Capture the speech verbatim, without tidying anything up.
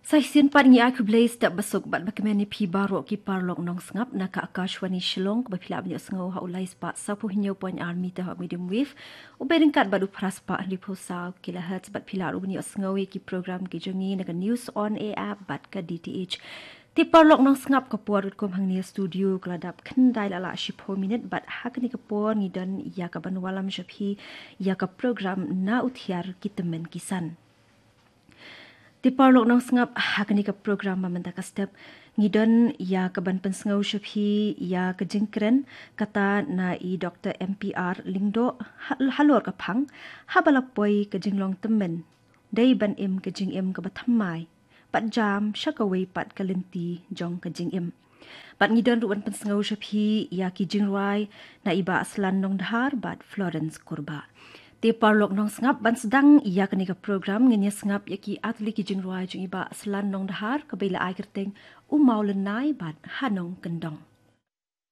Sa shisien pat ngi ai khublei step basuk bad bakmen ïa phi baroh ki paralok nongsngap na ka Akashvani Shillong, kaba phi lah ban ïohsngew ha u lai spah saw phew hynñiew point ar meter ha medium wave, u beit ryngkat bad u phra spah hynriew phew saw kilohertz, bad phi lah ruh ban ïohsngew ïa ki program ki jong ngi na ka News on Air app bad ka D T H. Te paralok nongsngap, ka por katkum hangne ha studio ka la dap khyndai la lah shiphew minit, bad ha kane ka por ngi don ïa kaban wallam sha phi ïa ka program Na U Thiar Ki Tymmen Ki San. Te paralok nongsngap, ha kane ka program ba mynta ka step ngi don ïa kaban pynsngew sha phi ïa ka jingkren kata na i Doctor M P R Lyngdoh ha-, halor ka phang, haba la poi ka jinglong tymmen, dei ban im ka jingim kaba thymmai bad jam sha kawei pat ka lynti jong ka jingim. Bad ngi don ruh ban pynsngew sha phi ïa ki jingrwai na i Bah Slan Nongdhar bad Florence Kurbah. Te paralok nongsngap, ban sdang ïa kane ka program ngin ïa sngap ïa ki artylli ki jingrwai jong i Bah Slan Nongdhar, kaba la ai kyrteng U Mawlynnai bad Ha Nongkyndong.